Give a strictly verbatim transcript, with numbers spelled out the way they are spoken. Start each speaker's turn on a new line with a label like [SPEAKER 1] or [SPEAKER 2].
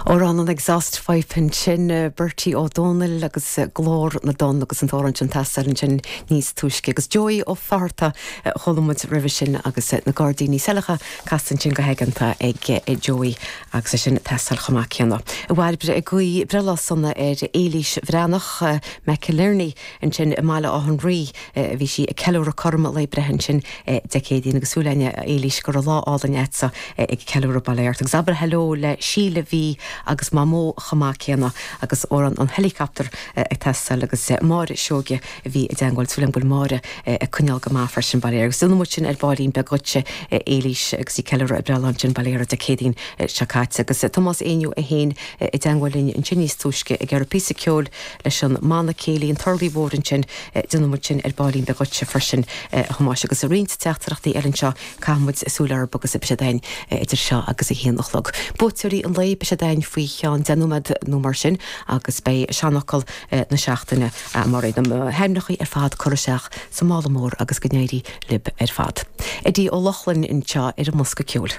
[SPEAKER 1] Amhrán an Exhaust Pipe ansin Bertie Ó Dónaill agus Glór na dTonn agus an t-amhrán sin teastáil ansin níos túisce agus Joey Ó Fátharta chuala muid roimhe sin agus na Gairdíní Saileacha casta ansin go haigeanta ag Joey agus é sin teastáil chomh maith céanna. Bhairbre ag guí breithlá sona ar Éilís Bhreathnach McInerney ansin i mBaile Átha an Rí bhí sí ag ceiliúradh cothrom lae breithe ansin Dé Céadaoin agus súil againn Éilís go raibh lá álainn agatsa ag ceiliúradh bail ort. Agus abair hello le Síle bhí agus Mamó chomh maith céanna agus amhrán an helicopter ag teastáil agus Máire Seoige a bhí i dteagmháil súil bhfuil Máire ag coinneáil go maith freisin bail agus déanfaidh muid sin ar baillín beag duitse Éilís agus í ceiliúradh a breithlá ansin bail Dé Céadaoin seo caite agus Tomás Éinniú é féin i dteagmháil linn ansin níos túisce ag iarraidh píosa ceoil leis an mbanna céilí an Turlaigh Mhór ansin déanfaidh muid sin ar baillín beag duitse freisin Thomáis agus roinnt teachtaireachtaí eile anseo caithfimid súil orthu agus beidh siad againn idir seo agus a haon a chlog. Buaiteoirí an lae beidh siad againn faoi cheann deich nóiméad nó mar sin agus beidh seanfhocal na seachtaine mar na hainmneacha ar fad curtha isteach sa mála mór agus go n-éirí libh ar fad. Eddie Ó Lochlainn anseo ar an mbosca ceoil.